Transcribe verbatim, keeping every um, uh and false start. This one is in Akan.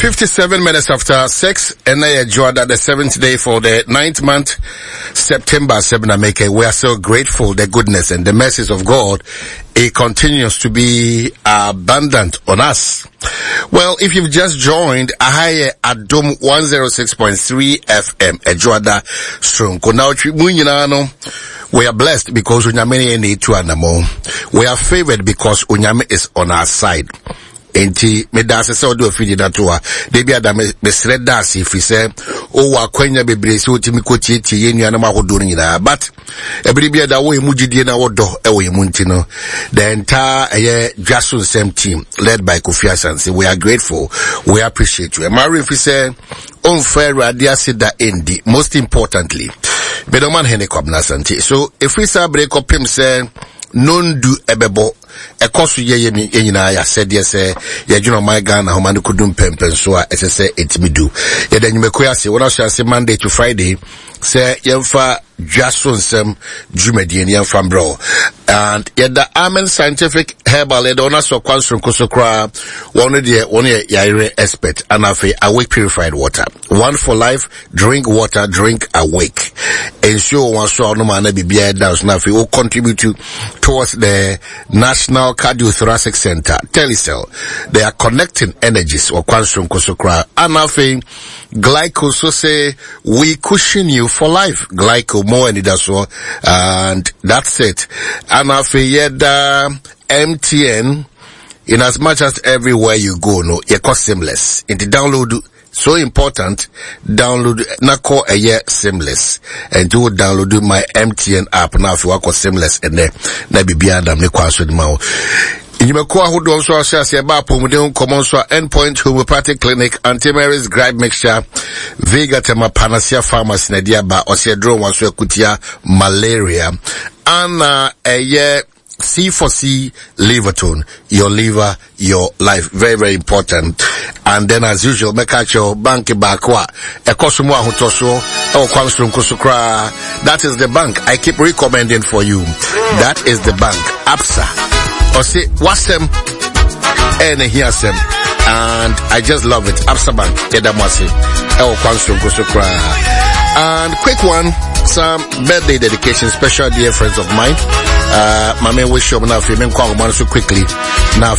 Fifty-seven minutes after six, and I Jordan, the seventh day for the ninth month, September seven. I make it. We are so grateful the goodness and the mercies of God. It continues to be abundant on us. Well, if you've just joined, Ahaye Adom one zero six point three F M, Ejuada Stronko. Now, we are blessed because Onyame ne tu anamo. We are favored because Onyame is on our side. Enti me da ase sɛ ɔde ofidi na to a de bi ada me mesrɛ da ase firi sɛ owɔ akwanya bebree sɛ otimi kɔtietie yɛn nuanom ahodoɔ no nyinaa, but ɛbere bi ada wɔ emu gyidie na wɔdɔ ɛwɔ emu nti no, the entire ɛyɛ Dwaso Nsɛm team led by Kofi Asante, we are grateful, we appreciate you. Ɛma remfi sɛ ɔmfa Awurade ase da endi. Most importantly, medɔman hene Kwabena Asante so ɛfiri saa bere kɔpem sɛ nondu ɛbɛbɔ ɛkɔ so yɛ yɛ nyinaa yɛasɛdeɛ sɛ yɛdwene ɔman Ghana homa no kɔdu mpɛmpɛnso a ɛsɛ sɛ ɛtumi du. Yɛda nnwumakuo ase wɔn ahyɛ ase Monday to Friday sɛ yɛmfa Dwaso Nsɛm dwumadie no yɛmfa mbrɛ, and yɛda Amen Scientific Herbal, yɛda wɔn asɔ kwan soronko so koraa. Wɔn deɛ wɔn yɛ yɛayerɛ expert, ana afei Awake Purified Water, one for life, drink water, drink awake. Nsuo wɔn aso a ɔnom ana biribiara da so, na afei will contribute to, towards the National Cardiothoracic Center. Telecel, they are connecting energies wɔ kwan soronko so koraa, ana afei Glyco so say we cushion you for life. Glyco more and that's all, and that's it. And afei yɛda M T N, in as much as everywhere you go no you cost seamless. Into download, so important, download nako a seamless, and to download my M T N app now if you work seamless and then na bibia na me kwaso de ma. Nnwumakuo ahodoɔ nso ahyɛ aseɛ ba apɔmuden nkɔmmɔ nso a Endpoint Homeopathic Clinic, Auntie Mary's Gripe Mixture, Vega Tema Panacea Pharmacy na ɛde aba, ɔsɛ aduro wɔn so akutia malaria, ana ɛyɛ C four C Liverton, your liver, your life. Very, very important. And then as usual, meka bank baako a ɛkɔ so mu ahotɔsoɔ ɛwɔ kwan soronko so koraa. That is the bank I keep recommending for you. That is the bank, Absa. Ɔse wasɛm ɛna hiasɛm, and I just love it. Absa Bank, yɛda mo ase ɛwɔ kwan soronko so koraa. And quick one, some birthday dedication, special dear friends of mine. Uh, my man wish you now, so quickly. Now